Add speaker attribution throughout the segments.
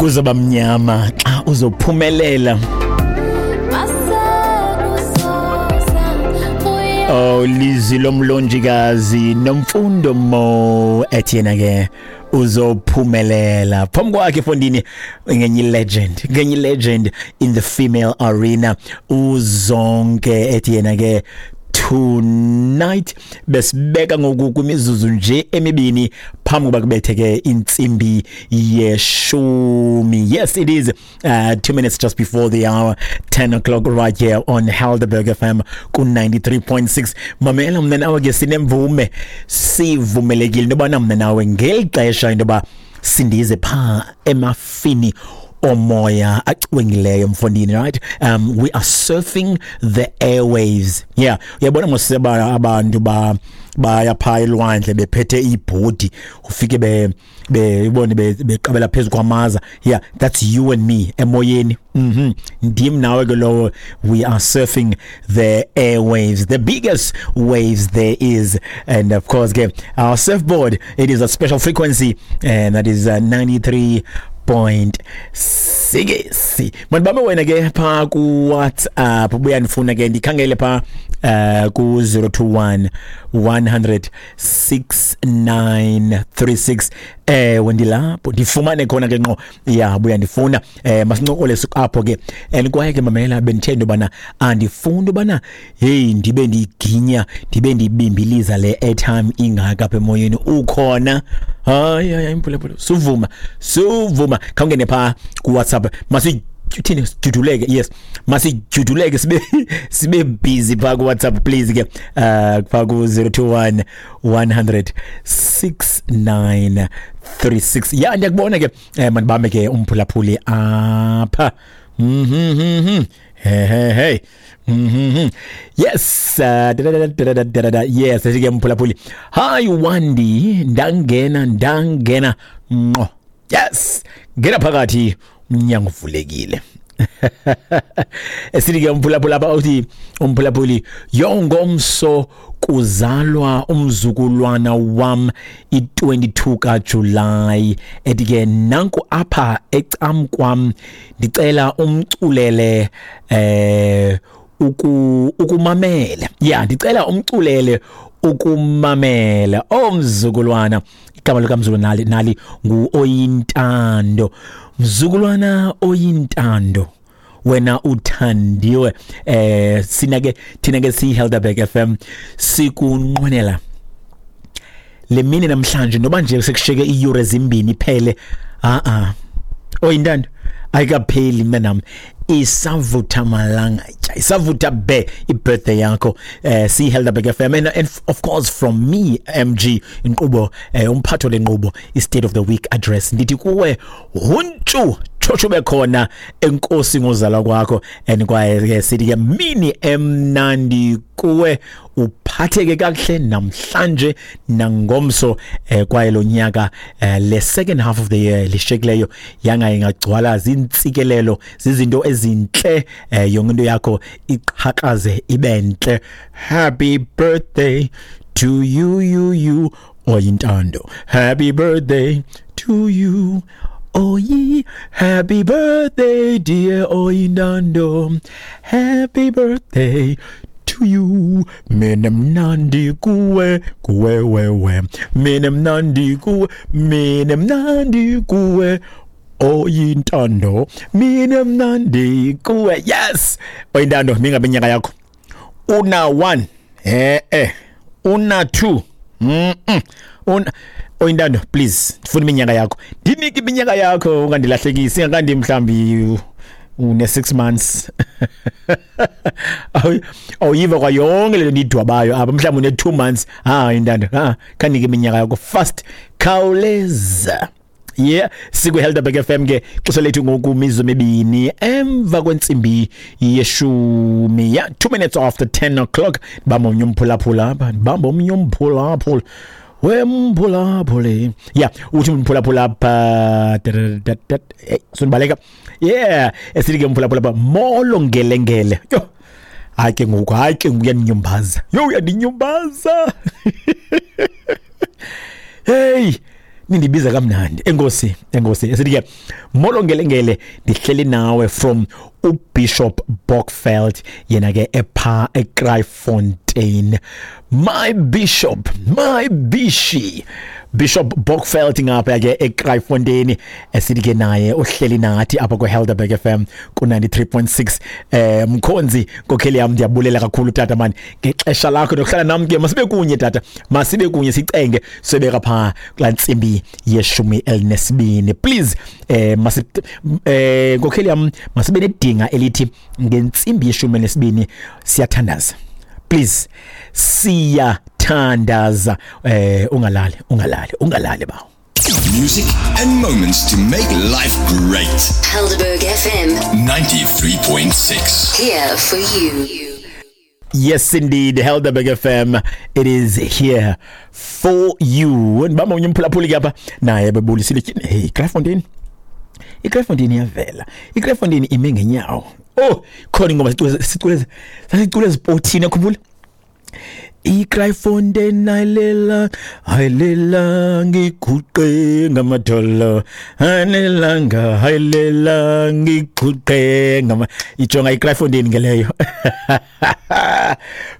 Speaker 1: Kuzoba mnyama xa uzophumelela. Oh, lizwi lomlonjikazi Nomfundo Mo ethi yena ke uzophumelela. Phambi kwakhe fondini ngenye legend, ngenye legend in the female arena, uZonke ethi yena ke "Tonight". Besibeka ngoku kwimizuzu nje emibini phambi kuba kubetheke intsimbi yeshumi. Yes, it is 2 minutes just before the hour 10 o'clock right here on Helderberg FM ku 93.6. Mamela, mna nawe ke sinemvume, sivumelekile into yobana mna nawe ngeli xesha into yoba sindize phaa emafini omoya acwengileyo mfondini, right? We are surfing the airwaves, yeah. Uyabona moseba abantu ba baya phaa elwandle bephethe iibhodi, ufike be bebone beqabela phezu kwamaza. Yeah, that's you and me emoyeni. Ndim nawe ke lowo. We are surfing the airwaves, the biggest waves there is, and of course ke our surfboard, it is a special frequency, and that is 93.6. Mandibambe wena ke phaa ku-WhatsApp, ubuya ndifuna ke ndikhangele phaa ku-021 100 6936. Ewe, ndilapho, ndifumane khona ke ngqo ya, buya ndifuna masincokole apho ke. And kwaye ke mamela, bendithe into yobana andifuni ubana heyi ndibe ndiyiginya, ndibe ndibimbiliza le airtime ingaka apha emoyeni ukhona. Hayi hayi, imphulaphula, suvuma, suvuma, khawungene phaa kuWhatsApp. Masithini, sijuduleke. Yes, masijuduleke, sibe busy phaa kuWhatsApp, please ke, phaa ku-021 100 6936. Ya, ndiyakubona ke. Mandibambe ke umphulaphuli apha. Hey hey hey. Yes, da, da, da, da, da, da, da, da. Yes, ke mphulaphuli. Hi Wandi, ndangena, ndangena ngqo. Yes, ngena phakathi, umnyango uvulekile. Esithi ke umphulaphuli apha, uthi umphulaphuli, yongomso kuzalwa umzukulwana wam, i-22 kaJulayi. Ethi ke nanku apha ecam kwam, ndicela umculele ukumamela. Ya, ndicela umculele ukumamela omzukulwana. Igama likamzukulwana nali, nali ngu Oyintando. Mzukulwana Oyintando, wena uthandiwe. Sina ke, thina ke siyi Helderberg FM, sikunqwenela le mini namhlanje, noba nje sekushiyeke iiyure ezimbini iphele. A a, Oyintando, ayikapheli mntanam, isavutha malangatya, isavutha be ibirthday yakho. Si Helderberg FM and of course from me, MG, inkqubo, umphatho lenqubo i-State of the Week Address, ndithi kuwe huntshu tshotsho bekhona, enkosi ngozalwa kwakho. And kwaye ke sithi ke mini emnandi kuwe, uphatheke kakuhle namhlanje nangomso, kwaye lo nyaka, le second half of the year lishekileyo, yanga ingagcwala zintsikelelo, zizinto ezintle, yonke into yakho iqhakaze ibe ntle. Happy birthday to you, you, you, Oyintando. Happy birthday to you. Oyi, happy birthday, dear Oyintando. Happy birthday to you. Mina mnandi kuwe, kuwe wewe. Mina mnandi kuwe, mina mnandi kuwe. Oyintando, mina mnandi kuwe. Yes. Oyintando, mingabe inyaka yakho. Una 1. Eh eh. Una 2. Una Oyintando, please, ndifuna iminyaka yakho. Ndinike iminyaka yakho, ungandilahlekisi, ingakandi mhlambi une 6 months. Awuyiva kwa yonke le ndidwabayo apha, mhlawumbi une 2 months. Ah, Intando, ah, khanike iminyaka yakho fast, khawuleza. Yeah, siku Helderberg FM ke, xesha lethu ngoku mizuzu emibini emva kwentsimbi yeshumi. Yeah, 2 minutes after 10 o'clock. Bamba omnye umphulaphula apha, bamba omnye umphulaphula. Wemphulaphuli. Yeah, uthi umphulaphula apha, hey, sonibaleka. Yeah, esithi ke umphulaphula apha, molo ngelengele. Yo. Hayi ke ngoku, hayi ke ngoku uyandinyumbaza. Yo, uyandinyumbaza. Hey, Nindibiza kamnandi. Enkosi, enkosi. Esithi ke molo ngelengele, ndihleli nawe from uBishop Bokveld, yena ke epha eKraaifontein. My bishop, my bishi. Bishop Bokveld ngapha ke eKraaifontein, esithi ke naye uhleli nathi apha kwiHelderberg FM ku 93.6. Mkhonzi nkokheli yam, ndiyabulela kakhulu tata man ngexesha lakho nokuhlala nam ke. Masibe kunye tata, masibe kunye sicenge sobeka pha kulaa ntsimbi ye-12. Please masi nkokheli yam, masibe nedinga elithi ngentsimbi ye-12 siyathandaza. Please, siyathandaza. Ungalali, ungalali, ungalali bawo.
Speaker 2: Music and moments to make life great.
Speaker 3: Helderberg FM
Speaker 2: 93.6.
Speaker 3: Here for you.
Speaker 1: Yes indeed, Helderberg FM, it is here for you. Ndibamba unye umphulaphuli ke apha naye bebulisile. Hey, Kraaifontein. IKraaifontein iyavela. IKraaifontein ime ngenyawo. Oh, khona ingoma sicule sicule sasicule ezipotini, yakhumbula? IKraaifontein ayilela ayilela ngiguqe ngamadolo, ayilelanga ayilela ngiguqe ngama ijonga iKraaifontein ngeleyo.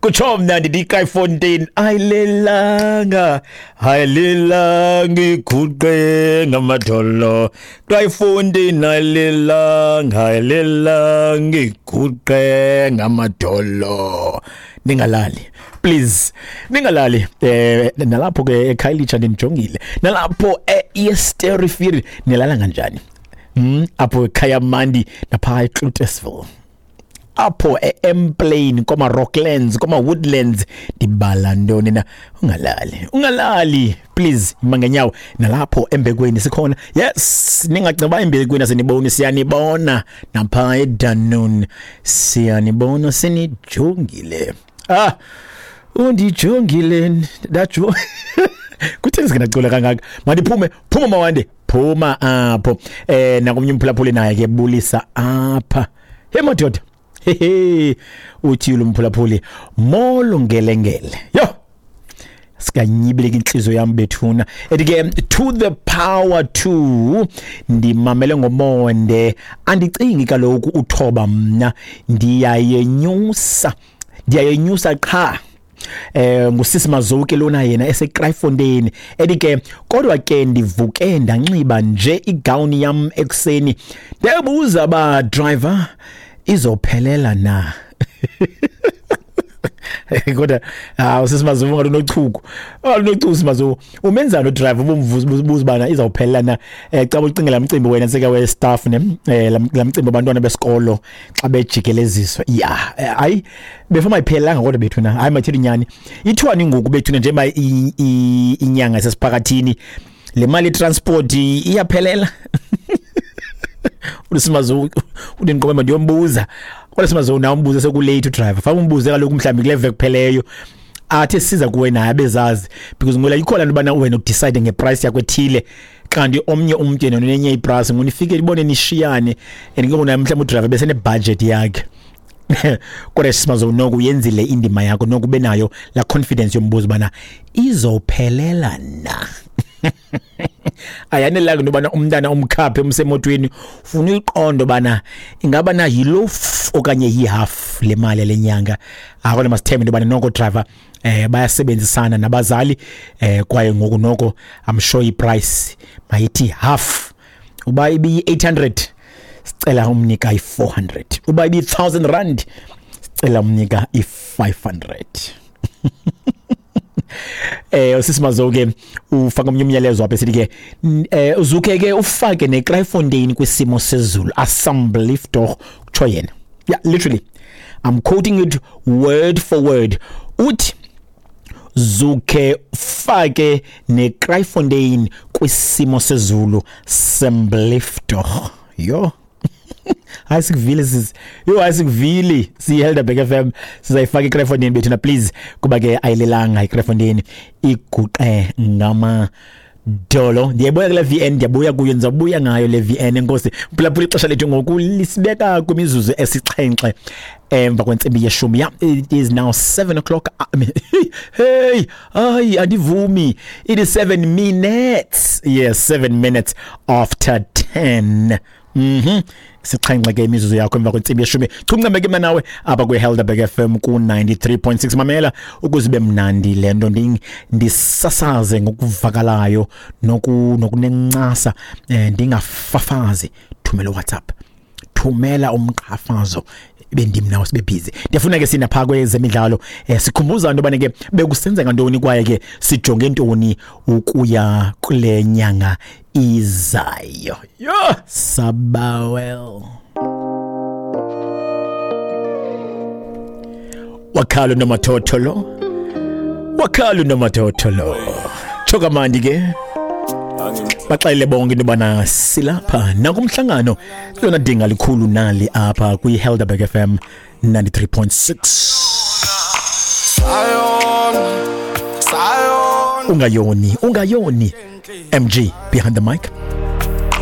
Speaker 1: Kutsho mna ndithi iKraaifontein ayilelanga ayilela ngiguqe ngamadolo, Kraaifontein ayilelanga ayilela ngiguqe ngamadolo. Ningalali, please, ningalali. Nalapho ke eKhayelitsha ndinijongile, nalapho eEsterifiri nilala kanjani? Apho eKhayamandi napha eCloetesville, apho eEmplain, koma Rocklands, koma Woodlands, ndibala ntoni na? Ungalali, ungalali please, ima ngenyawo. Nalapho Embekweni sikhona. Yes, ningacinga Embekweni asiniboni, siyanibona. Napha eDunoon siyanibona, sinijongile. Ah, undijongile ndajo. Kutheni singenacula kangaka? Mandiphume, phuma mawande, phuma apho. Nakomnye umphulaphuli naye ke bulisa apha. Hey madoda. Hehe, uthi lo mphulaphuli molo ngelengele. Yo, sikanyibileka inhliziyo yami bethuna. Ethi ke to the power 2, ndimamele ngomonde, andicingi kaloku uthoba mna, ndiyayenyusa, ndiyayenyusa qha. Ngusisi Mazuki lona yena eseKraaifontein. Ethi ke kodwa ke ndivuke ndanxiba nje igown yam ekuseni, ndiyabuza ba driver izophelela na? Kodwa usisi Mazuki ngathi unochuku, unochuku Simazuki. Umenzani udriver ubumvuza ubuza bana izawuphelela na? Xa ucingela umcimbi wena seka we staff ne, lamcimbi abantwana besikolo xa bejikeleziswa. Yeah, hayi before mayiphelelanga kodwa bethuna. Hayi mathini nyani, ithiwani ngoku bethuna njengoba inyanga sesiphakathini, le mali transport iyaphelela? USimazuki udinqome ndiyombuza. Kodwa Simazuki nawe umbuze sekulate udriver. Faka umbuze kaloku mhlawumbi kule veki kupheleyo athi siza kuwe naye abezazi, because ngola ikhona into bana wena udecide ngeprice yakho ethile, kanti omnye umuntu yena unenye iprice, ngonifike ibone nishiyane, and ke ngona mhlawumbi udriver bese nebudget yakhe. Kodwa Simazuki noko uyenzile indima yakho, noko ube nayo la confidence yombuzo bana izophelela na. Ayanelanga into yobana umntana umkhaphe umsemotweni, ufuna uyiqonda bana ingaba na yiloaf okanye yihalf le mali lenyanga. Akona masithembe into yobana noko driver bayasebenzisana nabazali, kwaye ngoku noko I'm sure iprice mayithi half. Uba ibi 800 sicela umnika i400, uba ibi 1000 rand sicela umnika i500. Usisi Mazuki ufaka omnye umyalezo apha esithi ke uzuke ke ufake neKraaifontein kwisimo sezulu, asseblief tog, kutsho yena. Yeah, literally I'm quoting it word for word. Uthi zuke ufake neKraaifontein kwisimo sezulu, asseblief tog. Yo, hayi sikuvile sisi, yo hayi sikuvile siyiHelderberg FM, sizayifaka iKraaifontein bethuna please, kuba ke ayilelanga iKraaifontein, iguqe ngamadolo. Dolo. Ndiyabuya kule VN, ndiyabuya kuyo, ndizabuya ngayo le VN. Enkosi phulaphula, ixesha lethu ngoku lisibeka kwimizuzu 7 emva kwentsimbi yeshumi. Yeah, it is now 7 o'clock. I mean, hey, hayi, andivumi. It is 7 minutes, yes, 7 minutes after 10. 7 ke imizuzu yakho emva kwentsimbi yeshumi. Chuncambe ke mna nawe apha kwi-Helderberg FM ku-93.6. Mamela, ukuze ibe mnandi le nto, ndisasaze ngokuvakalayo nokunencasa, ndingafafazi. Thumela WhatsApp, thumela umqhafazo, bendim nawe sibe busy. Ndiyafuna ke sinapha kwezemidlalo, sikhumbuza into yobana ke bekusenzeka ntoni kwaye ke sijonge ntoni ukuya kule nyanga izayo. Yho, sabawel wakhalo nomathotholo, wakhalo nomathotholo, tsho kamandi ke. Baxelele bonke into yobana silapha nakumhlangano lona dinga likhulu nali apha kwi-Helderberg FM 93.6. Ungayoni, ungayoni. MG behind the mic.